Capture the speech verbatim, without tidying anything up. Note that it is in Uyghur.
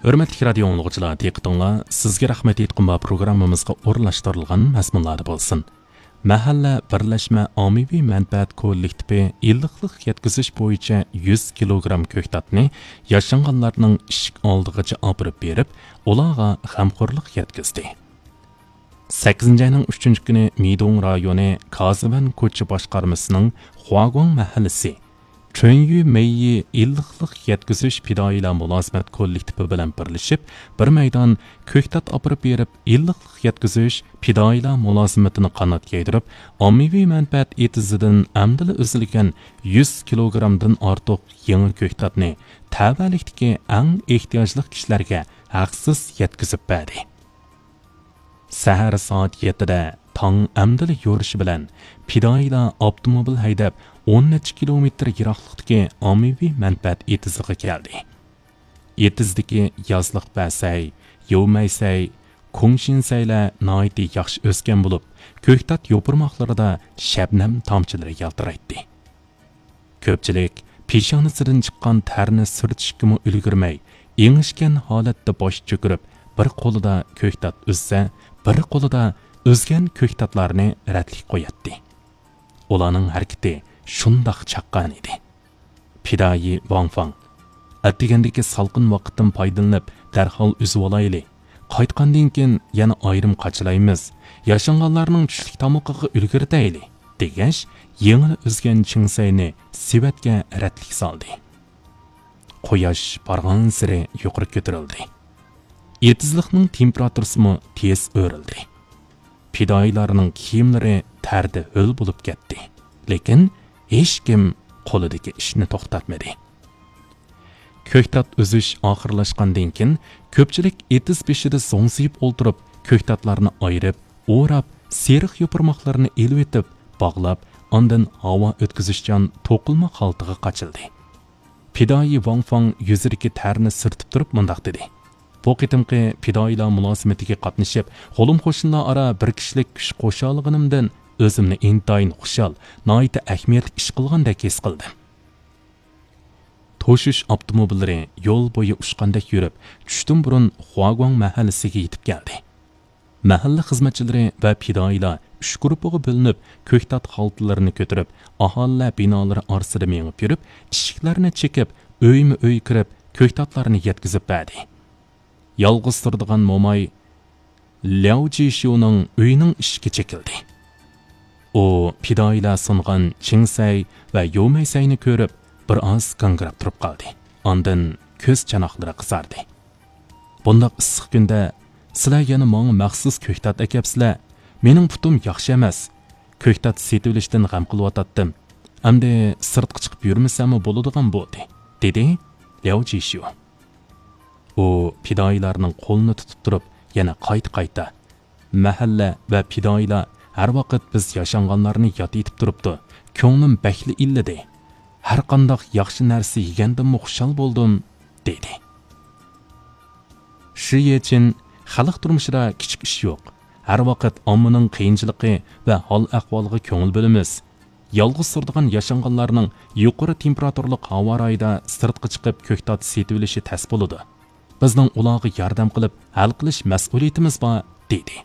ھۆرمەتلىك رادىيو ئاڭلىغۇچىلار، دىققىتىڭلار سىزگە رەھمەت ئېيتقۇم بار پروگراممىمىزغا ئورۇنلاشتۇرۇلغان مەزمۇنلاردا بولسۇن. مەھەللە بىرلەشمە ئاممىۋى مەنپەئەت كوللېكتىپى ئىللىقلىق يەتكۈزۈش بويىچە يۈز كىلوگرام كۆكتاتنى ياشانغانلارنىڭ ئىشىك ئالدىغىچە ئاپىرىپ بېرىپ، ئۇلارغا غەمخورلۇق يەتكۈزدى. سەككىزىنچى ئاينىڭ ئۈچىنچى كۈنى مىدۇڭ رايونى كازىۋەن كوچا باشقارمىسىنىڭ خۇاگۇاڭ مەھەللىسى چۈەنيۈ مېيى ئىللىقلىق يەتكۈزۈش پىدائىيلار مۇلازىمەت كوللېكتىپى بىلەن بىرلىشىپ، بىر مەيدان كۆكتات ئاپىرىپ بېرىپ، ئىللىقلىق يەتكۈزۈش پىدائىيلار مۇلازىمىتىنى قانات يايدۇرۇپ، ئاممىۋى مەنپەئەت ئېتىزىدىن ئەمدىلا ئۈزۈلگەن يۈز كىلوگرامدىن ئارتۇق يېڭى كۆكتاتنى تەۋەلىكتىكى ئەڭ ئېھتىياجلىق كىشىلەرگە ھەقسىز يەتكۈزۈپ بەردى. سەھەر سائەت يەتتىدە تاڭ ئەمدىلا يورۇشى بىلەن پىدائىيلار ئاپتوموبىل ھەيدەپ، ئون نەچچە كىلومېتىر يىراقلىقتىكى ئاممىۋى مەنپەئەت ئېتىزىغا كەلدى. ئېتىزدىكى يازلىق بەسەي، يومەيسەي، كۇڭشىنسەيلەر ناھايىتى ياخشى ئۆسكەن بولۇپ، كۆكتات يوپۇرماقلىرىدا شەبنەم تامچىلىرى يالتىرايتتى. كۆپچىلىك پېشانىسىدىن چىققان تەرنى سۈرتۈشكىمۇ ئۈلگۈرمەي، ئېڭىشكەن ھالەتتە باش چۆكۈرۈپ، بىر قولىدا كۆكتات ئۈزسە، بىر قولىدا ئۈزگەن كۆكتاتلارنى رەتلىك قوياتتى. ئۇلارنىڭ ھەرىكىتى شۇنداق چاققان ئىدى. پىدائىي ۋاڭ فاڭ، ئەتىگەندىكى سالقىن ۋاقىتتىن پايدىلىنىپ، دەرھال ئۈزۈۋالايلى. قايتقاندىن كېيىن يەنە ئايرىم قاچىلايمىز. ياشانغانلارنىڭ چۈشلۈك تامىقىغا ئۈلگۈرتەيلى، دېگەچ، يېڭىلا ئۈزگەن چىڭسەينى سېۋەتكە رەتلىك سالدى. قۇياش بارغانسېرى يۇقىرى كۆتۈرۈلدى. ئېتىزلىقنىڭ تېمپېراتۇرىسىمۇ تېز ئۆرلىدى. پىدائىيلارنىڭ كىيىملىرى تەردە ھۆل بولۇپ كەتتى. لېكىن ھېچكىم قولىدىكى ئىشنى توختاتمىدى. كۆكتات ئۈزۈش ئاخىرلاشقاندىن كېيىن، كۆپچىلىك ئېتىز بېشىدا زوڭزىيىپ ئولتۇرۇپ، كۆكتاتلارنى ئايرىپ، ئوراپ، سېرىق يوپۇرماقلىرىنى ئېلىۋېتىپ، باغلاپ، ئاندىن ھاۋا ئۆتكۈزۈشچان توقۇلما خالتىغا قاچىلدى. پىدائىي ۋاڭ فاڭ يۈزىدىكى تەرنى سۈرتۈپ تۇرۇپ مۇنداق دېدى: بۇ قېتىمقى پىدائىيلار مۇلازىمىتىگە قاتنىشىپ، قولۇم-قوشنىلار ئارا بىر كىشىلىك كۈچ قوشالىغىنىمدىن ئۆزۈمنى ئىنتايىن خۇشال، ناھايىتى ئەھمىيەتلىك ئىش قىلغاندەك ھېس قىلدىم. توشۇش ئاپتوموبىللىرى يول بويى ئۇچقاندەك يۈرۈپ، چۈشتىن بۇرۇن خۇاگۇاڭ مەھەللىسىگە يېتىپ كەلدى. مەھەللە خىزمەتچىلىرى ۋە پىدائىيلار ئۈچ گۇرۇپپىغا بۆلۈنۈپ، كۆكتات خالتىلىرىنى كۆتۈرۈپ، ئاھالىلەر بىنالىرى ئارىسىدا مېڭىپ يۈرۈپ، ئىشىكلەرنى چېكىپ، ئۆيمۇ ئۆي كىرىپ، كۆكتاتلارنى يەتكۈزۈپ بەردى. يالغۇز تۇرىدىغان موماي لياۋ جىشيۇنىڭ ئۆيىنىڭ ئىشىكى چېكىلدى. ئۇ پىدائىيلار سۇنغان چىڭسەي ۋە يومەيسەينى كۆرۈپ، بىر ئاز گاڭگىراپ تۇرۇپ قالدى. ئاندىن كۆز چاناقلىرى قىزاردى. بۇنداق ئىسسىق كۈندە سىلەر يەنە ماڭا مەخسۇس كۆكتات ئەكەپسىلەر. مېنىڭ پۇتۇم ياخشى ئەمەس. كۆكتات سېتىۋېلىشتىن غەم قىلىۋاتاتتىم. ئەمدى سىرتقا چىقىپ يۈرمىسەممۇ بولىدىغان بولدى، دېدى لياۋ جىشيۇ. ئۇ پىدائىيلارنىڭ قولىنى تۇتۇپ تۇرۇپ، يەنە قايتا-قايتا، مەھەللە ۋە پىدائىيلار ھەر ۋاقىت بىز ياشانغانلارنى ياد ئېتىپ تۇرۇپتۇ. كۆڭلۈم بەكلا ئىللىدى. ھەرقانداق ياخشى نەرسە يېگەندىنمۇ خۇشال بولدۇم، دېدى. شى يېچىن، خەلق تۇرمۇشىدا كىچىك ئىش يوق. ھەر ۋاقىت ئاممىنىڭ قىيىنچىلىقى ۋە ھال-ئەھۋالىغا كۆڭۈل بۆلىمىز. يالغۇز تۇرىدىغان ياشانغانلارنىڭ يۇقىرى تېمپېراتۇرىلىق ھاۋا رايىدا سىرتقا چىقىپ كۆكتات سېتىۋېلىشى تەس بولىدۇ. بىزنىڭ ئۇلارغا ياردەم قىلىپ ھەل قىلىش مەسئۇلىيىتىمىز بار، دېدى.